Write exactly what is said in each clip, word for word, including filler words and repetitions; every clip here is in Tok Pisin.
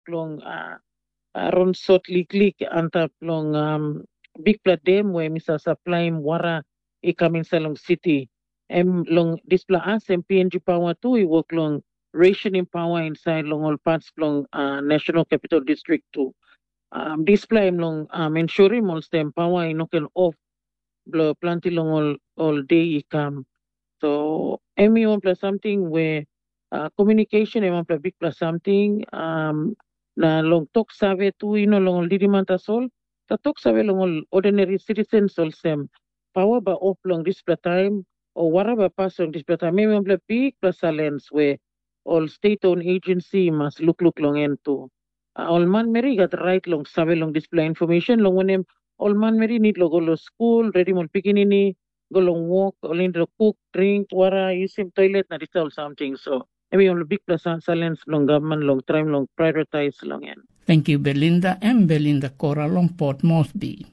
long uh, uh, ronsot liklik antap long um, bikpela dem we mi sa saplaim wara i kam inside long siti. Em long dispela as em P N G Power tu i wok long rationing power inside long ol parts bilong uh, National Capital District tu. Um, dispela em long um, ensurim olsem power i no ken off bilong planti long ol ol de i kam. So em i wanpela samting we uh, communication em wanpela bikpela samting. Um, na long tok save tu i no long ol lidiman tasol, sa tok save long ol ordinary citizens olsem, pawa bai op long dispela taim, o wara bai pas long dispela taim, em wanpela bikpela salens we ol state owned agency i mas lukluk long en tu. A, ol manmeri i gat rait long save long dispela information, long wanem, ol manmeri nid lo go lo skul, redim ol pikinini, go long wok, ol nid lo kuk, dring, wara, yusim toilet na dispela ol samting. So em i ol bikpela sa- salens bilong gavman long traim long prioritize long en. Thank you, Belinda. Em Belinda Kora long Port Moresby.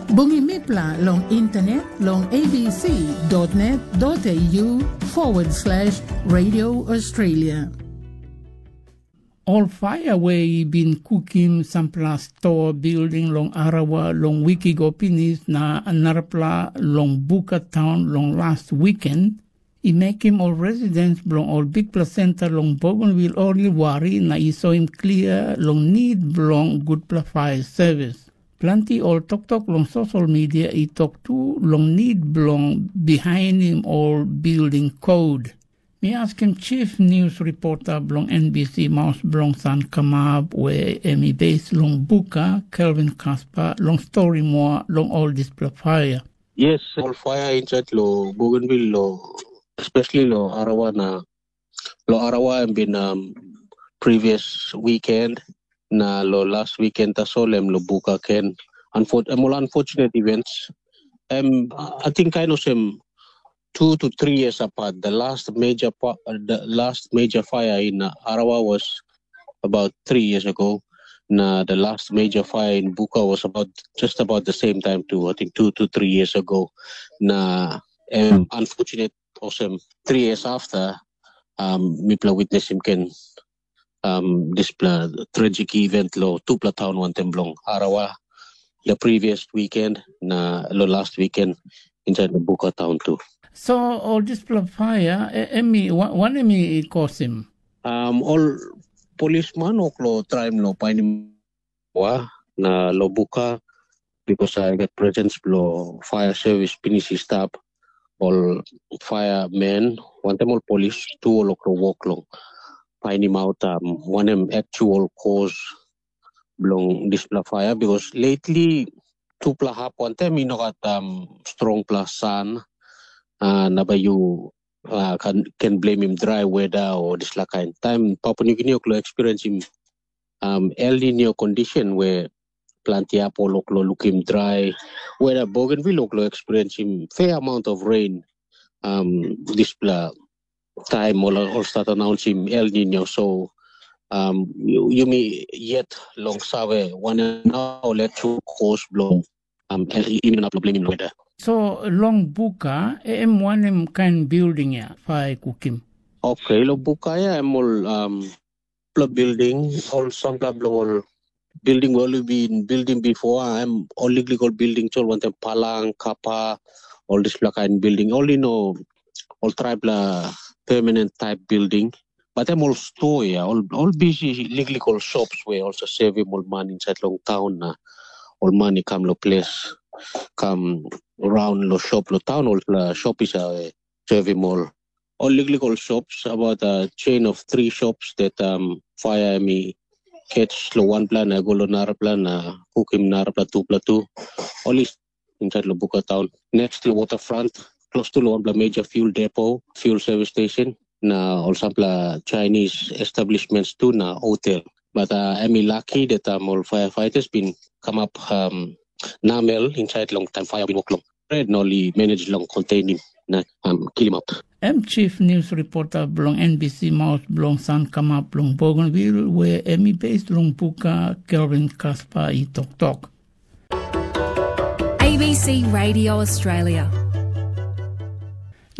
Bungi mipla long internet long A B C dot net dot A U forward slash Radio Australia. Ol paia we i bin kukim sampela stoa bilding long Arawa long wik i go pinis na narapela long Buka taun long las wiken, i mekim ol residents bilong ol bikpela senta long Bougainville ol i wari na i soim klia long nid bilong gutpela paia sevis. Planti ol toktok long sosial media i tok tu long nid bilong bihainim ol bilding kod. Mi askim chief nius ripota bilong N B C maus bilong San Kamap we em i beis long Buka, Kelvin Kaspa, long stori moa long ol dispela paia. Yes, ol paia insait lo Bougainville lo, especially lo Arawa na lo Arawa em bin um, previous weekend na lo last weekend tasol em lo Buka ken. Unfor- em ol unfortunate events. Em, I think kind of same two to three years apart. The last major pa- uh, the last major fire in uh, Arawa was about three years ago. Now the last major fire in Buka was about just about the same time too. I think two to three years ago. Now, um, unfortunate, awesome, three years after, um, mipla witness him can um, dispela tragic event lo tupela taun wantaim bilong Arawa, the previous weekend na lo last weekend inside the Buka town too. So ol dispela fire, e- em i, wa- wanem i kosim? Um, ol polisman ok lo traim lo painim wa na lo Buka because I got presence lo fire service pinis i stap, ol firemen wantaim ol polis tu ol okro wok long painim aut um, wanem actual cause bilong dispela fire because lately tupela hap wantaim i no gat um, strongpela sun uh, na bai yu uh, can, can blame him dry weather o dispela kain. Taim Papua New Guinea oklo experienceim um, El Nino condition where planti apple oklo lukim dry, where Bougainville oklo experienceim fair amount of rain um, dispela time ol ol start announceim El Nino. So um, yumi yet long save wanem na ol actual cause bilong um, El Nino na blaming weather. So long buka em wanem kain building ya fai kukim? Okay, lo buka ya em ol um, pla building, ol sampla bilong ol building we ol bin building before, em ol liklik ol building tol wantaim palang, kapa, ol dispela kain building. Ol i no ol traipela permanent type building. But em ol store ya, ol ol busy liklik ol shops we ol sa sevim ol man inside long town na ol man i kam lo ples kam raun lo shop lo town ol la shop i sa sevim ol ol liklik ol shops about a chain of three shops that um, fire em i catch lo wanpela na go lo narapela na kukim narapela tupela tu. Ol i inside lo Buka town. Next lo waterfront, close to lo wanpela major fuel depot, fuel service station, na ol sampela Chinese establishments tu na hotel. But uh, em i lucky that um, ol firefighters bin come up um, namel inside long time fire bin work long. Red na ol i manage long containing na um, kill him up. Em chief news reporter bilong N B C maus bilong San Kamap long Bougainville, where em i based long Buka, Kelvin Kaspa i toktok. A B C Radio Australia.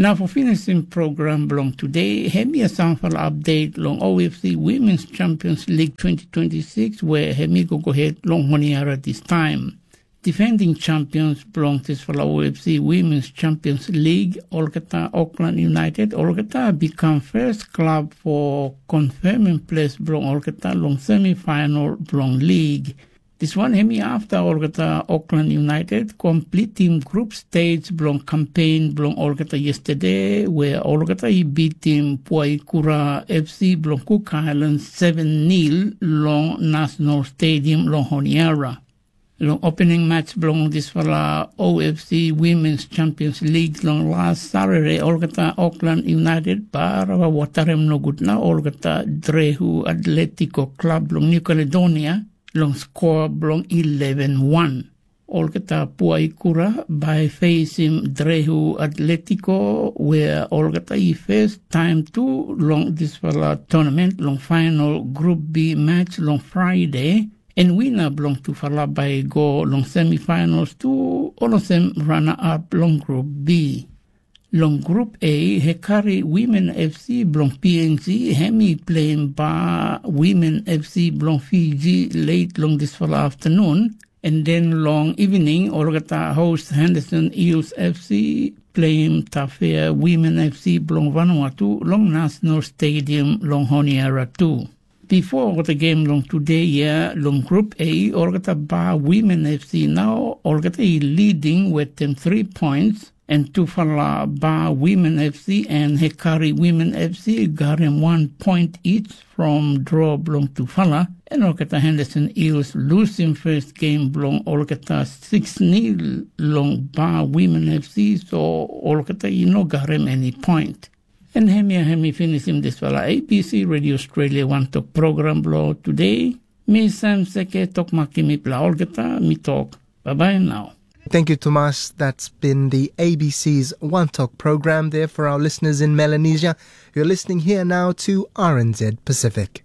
Na for finisim program bilong today, hem ia sampela update long O F C Women's Champions League twenty twenty-six, where hem i go go ahead long Honiara this time. Defending champions bilong dispela O F C Women's Champions League, olgeta Auckland United, olgeta become first club for confirming place bilong olgeta long semifinal bilong league. Dis wan em i afta olgeta Auckland United komplitim grup stage bilong kampen bilong olgeta yesterday, where olgeta i bitim Puaikura F C bilong Cook Islands seven nil long National Stadium long Honiara. Long opening match bilong dispela O F C Women's Champions League long las Saturday, olgeta Auckland United barava watarem nogut na olgeta Drehu Atletico Club bilong New Caledonia long skor bilong eleven one. Olgeta Puaikura bai fesim Drehu Atletico, wea olgeta i fes taim tu long dispela tournament long final Group B match long Friday, en wina bilong tufala bai i go long semifinals tu, olsem rana-ap long Group B. Long Group A, Hekari Women F C bilong P N G, hem i pleim ba Women F C bilong Fiji late long dispela afternoon, en den long evening, olgeta host Henderson Eels F C pleim Tafea Women F C bilong Vanuatu long National Stadium long Honiara tu. Bipo olgeta game long today ya long Group A, olgeta ba Women F C nau, olgeta i leading wetem three points, en tufala ba Women F C en Hekari Women F C garim one point each from draw bilong tufala, en olgeta Henderson Eels lusim first game bilong olgeta six nil long ba Women F C, so olgeta i no garim any point. En hemia hem i finisim dispela A B C Radio Australia wantok program bilong today. Mi Sam Seke tok makim mipela olgeta, mi tok, bye bye now. Thank you, Tomas. That's been the A B C's One Talk program there for our listeners in Melanesia. You're listening here now to R N Z Pacific.